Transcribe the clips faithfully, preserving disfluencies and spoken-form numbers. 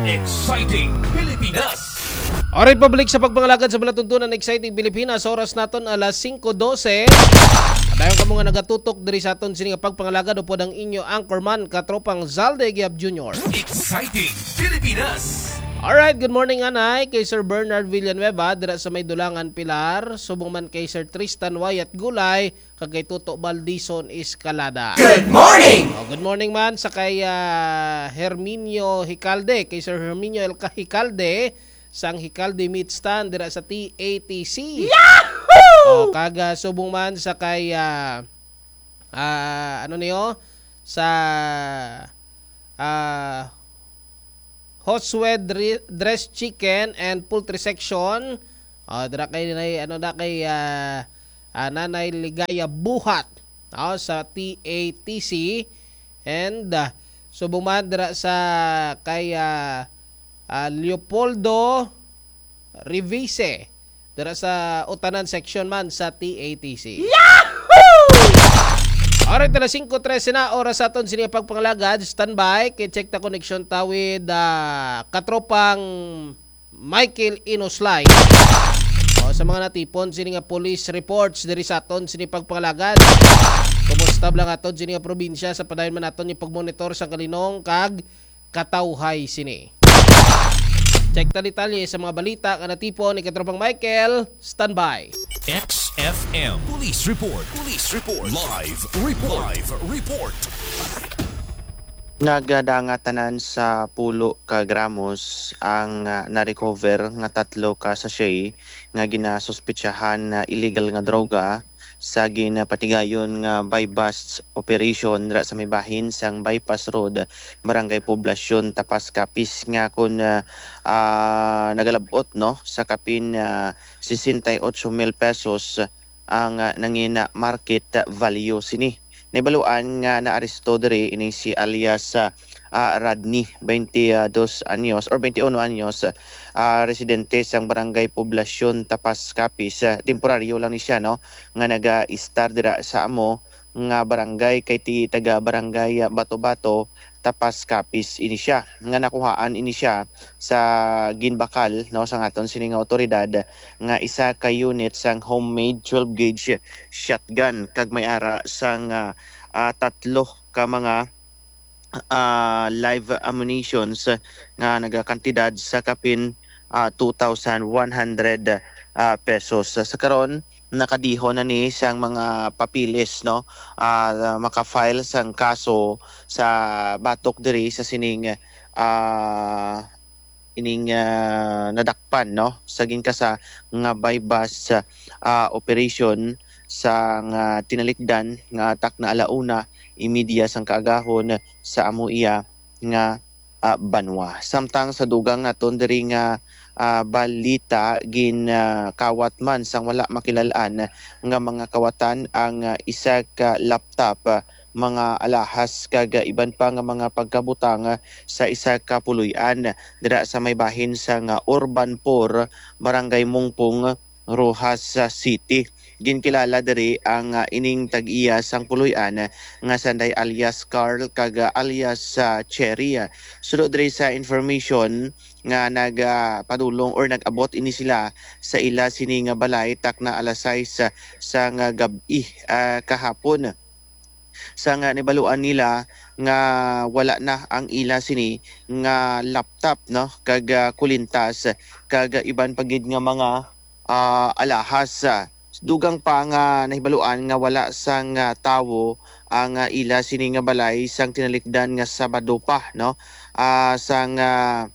Exciting Pilipinas. Alright, public, sa pagpangalagad sa malatuntunan, Exciting Pilipinas, oras naton alas singko dose. Padayon kamo nga nagatutok diri sa aton sini nga pagpangalagad, upod ang inyo anchorman, katropang Zalde Giab Junior. Exciting Pilipinas. Alright, good morning, anay, kay Sir Bernard Villanueva, dira sa may Dulangan, Pilar, subong man kay Sir Tristan Wyatt Gulay, kag kay Toto Baldison Escalada. Good morning! Oh, good morning man sa kay, ah, Herminio Hicalde, kay Sir Herminio El Hicalde, sang Hicalde Meat Stand dira sa T A T C. Yahoo! Oh, kag, ah, subong man sa kay, ah, ah, ano niyo? Sa, ah, Josue Dre-, Dress Chicken and Poultry Section. Ah, dira kay Nay, ano na, kay, ah, ah, Nanay Ligaya Buhat, ah, sa T A T C. And, ah, subong man dira sa kay, ah, ah, Leopoldo Revise, dira sa Utanan Section man sa T A T C. Yahoo! Alright, alas singko trese na, oras sa aton sini pagpangalagad. Standby, kay check ta connection tawid, ah, katropang Michael Inoslay. O, sa mga natipon sini nga police reports diri sa aton sini pagpangalagad. Kumusta lang aton sini nga probinsya sa padayon man naton yung pagmonitor sa kalinong kag katawhay sini. Check ta detalye sa mga balita nga natipon ni Katropang Michael. Standby. X F M Police Report. Police Report. Live Report. Live Report. Nagdanga tanan sa pulo ka gramos ang, ah, na-recover nga tatlo ka sachet nga ginasuspetsahan na illegal nga droga sa ginapatigayon nga buy-bust operation dira sa may bahin sang Bypass Road, Barangay Poblacion, Tapas, Capiz, nga kon, ah, ah, nagalab-ot, no, sa kapin, ah, sesenta y ocho mil pesos ang, ah, nangina market value sini. Nahibaluan nga naaresto diri ini si alias, ah, ah, Rodney, twenty dos anyos or twenty uno anyos, ah, residente sang Barangay Poblacion, Tapas, Capiz. Ah, temporaryo lang ni siya, no, nga naga-istar dira sa amo nga barangay, kay ti taga Barangay, ah, Bato-Bato, Tapas, Capiz ini siya, nga nakuhaan ini siya sa ginbakal, no, sang aton sini nga awtoridad nga isa ka unit sang homemade twelve gauge shotgun kag may ara sang, ah, ah, tatlo ka mga, ah, live ammunitions nga nagakantidad sa kapin, ah, two thousand one hundred, ah, pesos. Sa karon, nakadihon na ni sang mga papeles, no? Ah, maka-file sang kaso sa batok diri sa sining, ah, ining, ah, nadakpan, no, sa ginkasa nga buy-bust, ah, operation sang tinalikdan nga takna ala una y media sang kaagahon sa amo iya nga, ah, banwa. Samtang sa dugang naton diri nga, ah, balita, gin, ah, kawat man sang wala makilal-an nga mga kawatan ang, ah, isa ka laptop, ah, mga alahas kag, ah, iban pa nga mga pagkabutang, ah, sa isa ka puloy-an dira sa may bahin sang, ah, Urban Four, Barangay Mungpong, Roxas, ah, City. Ginkilala diri ang, ah, ining tag-iya sang puloy-an, ah, nga sanday alias Carl kag, ah, alias, ah, Cherry, ah. Suno diri sa information nga nag, ah, padulong or nag-abot ini sila sa ila sini nga balay takna alas sais, ah, sang gab-i, ah, kahapon. Sang nahibaluan nila nga wala na ang ila sini nga laptop, no, kag, ah, kulintas, kag iban pa gid nga mga, ah, alahas. Dugang pa nga nahibaluan nga wala sang, ah, tawo ang, ah, ila sini nga balay sang tinalikdan nga Sabado pa, no, ah, sang, ah,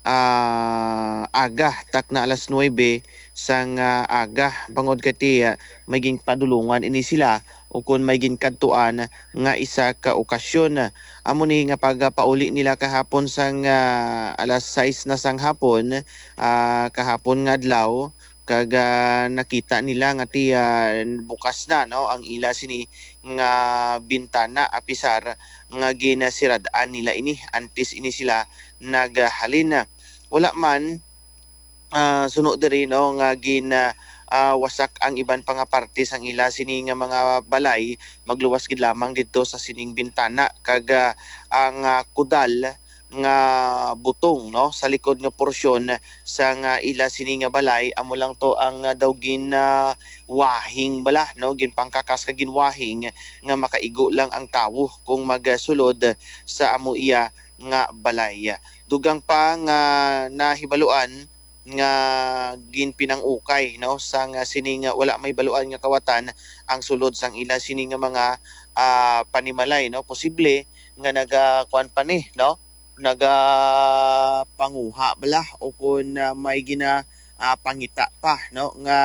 ah, aga, takna alas nuebe sang, ah, aga, bangod kay ti, ah, may ginpadulungan ini sila o kon may ginkadtuan nga isa ka okasyon. Amo ni nga pagpauli nila kahapon sang, ah, alas sais na sang hapon, ah, kahapon nga adlaw, kag, ah, nakita nila nga ti, ah, bukas na, no, ang ila sini nga bintana, apisar nga ginasirad-an nila ini antes ini sila naghalin. Wala man, ah, suno diri, no, nga gin, ah, ah, wasak ang iban pa nga parte sang ila sini nga mga balay, magluwas gid lamang didto sa sining bintana, kag, ah, ang, ah, kudal nga butong, no, sa likod nga porsyon sang ila sini nga balay, amo lang to ang, ah, daw gin, ah, wahing bala, no, ginpangkakas kag ginwahing nga makaigo lang ang tawo kung magsulod sa amo iya nga balay. Dugang pa nga nahibaluan nga ginpinang-ukay, no, sang sining wala mahibaluan nga kawatan ang sulod sang ila sini nga mga, ah, panimalay, no. Posible nga naga-, kuwan pa ni, no, nagapanguha bala o kun, ah, may gina-, ah, pangita pa, no, nga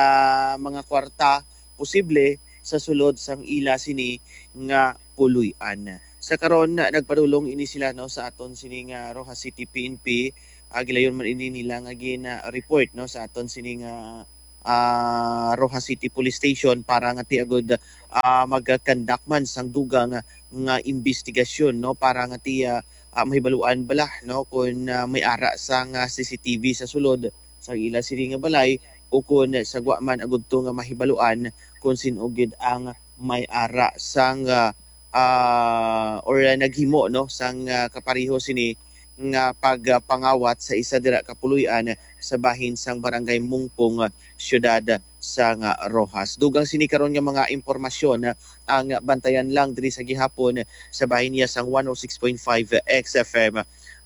mga kwarta posible sa sulod sang ila sini nga puloy-an. Sa karon, nagpadulong ini sila, no, sa aton sini nga Roxas City P N P. Ah, gilayon man ini nila nga gin, ah, report, no, sa aton sini nga, ah, Roxas City Police Station para nga ti agud, ah, mag-conduct man sang dugang nga, nga investigasyon, no, para nga ti, ah, ah, mahibaluan bala, no, kung, ah, may ara sang, ah, C C T V sa sulod sa ila sini nga balay o kung sa gwa man agud to nga mahibaluan kung sin-o gid ang may ara sang, ah, ah, or, ah, naghimo, no, sang, ah, kapareho sini nga pagpangawat sa isa dira ka puloy-an sa bahin sang Barangay Mungpong, siyudad sang Roxas. Dugang sini karon nga mga impormasyon, ah, ang bantayan lang diri sa gihapon sa bahin niya sang one oh six point five X F M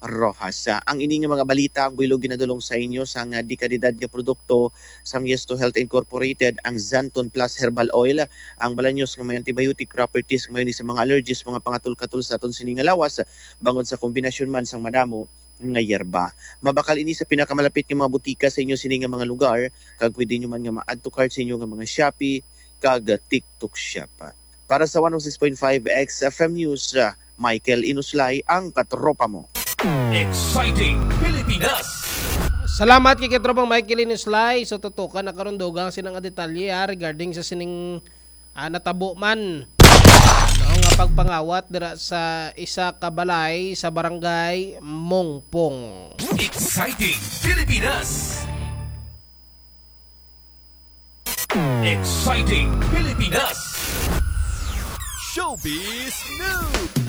Roxas. Ah, ang ini nga mga balita ang buylog ginadulong sa inyo sang, ah, dekalidad nga produkto sang Yes to Health Incorporated, ang Xanthone Plus Herbal Oil, ang Balanyos nga may antibiotic properties nga may sa mga allergies, mga pangatol-katol sa aton sini nga lawas, bangod sa kombinasyon man sang madamo nga yerba. Mabakal ini sa pinakamalapit nga mga butika sa inyo sini nga mga lugar, kag pwede nyo man nga ma-add to cart sa inyo nga mga Shopee kag TikTok Shop. Para sa one oh six point five X F M News, ah, Michael Inuslay, ang katropa mo. Exciting Pilipinas! Salamat kay katropang Michael Inuslay. So, tutukan na karon dugang sini nga detalye, ah, regarding sa sining, ah, natabo man, no, nga pagpangawat dira sa isa ka balay sa barangay Mongpong. Exciting Pilipinas! Exciting Pilipinas! Showbiz News!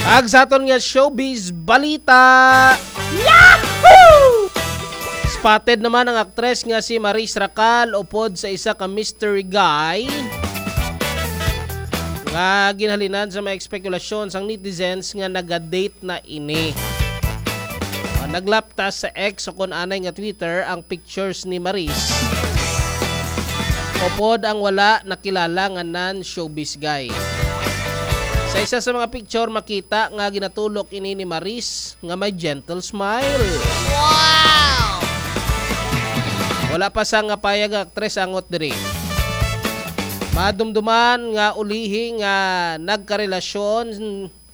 Ag sa aton nga showbiz balita. Yahoo! Spotted naman ang aktres nga si Maris Racal upod sa isa ka mystery guy nga ginhalinan sa mga espekulasyon sang netizens nga naga-date na ini. Ah, naglaptas sa X o kon anay nga Twitter ang pictures ni Maris upod ang wala nakilala nga non-showbiz guy. Sa isa sa mga picture, makita nga ginatulok ini ni Maris nga may gentle smile. Wow! Wala pa sang payag nga aktres angot diri. Madumduman nga ulihi nga nagkarelasyon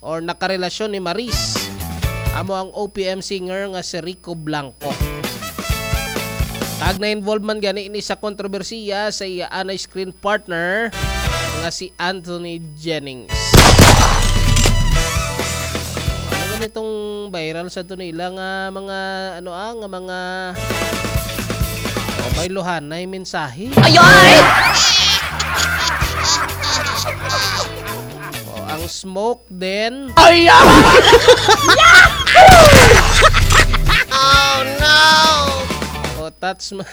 or nakarelasyon ni Maris amo ang O P M singer nga si Rico Blanco. Kag na-involve man gani ini sa kontrobersiya sa iya anay screen partner nga si Anthony Jennings. Ano gani tong viral sa to nila nga mga, ano, ah, nga mga, oh, may luhanay mensahe? Ay, ay! Oh, ang smoke din. Ay, ah! Oh, no! Oh, touch mo.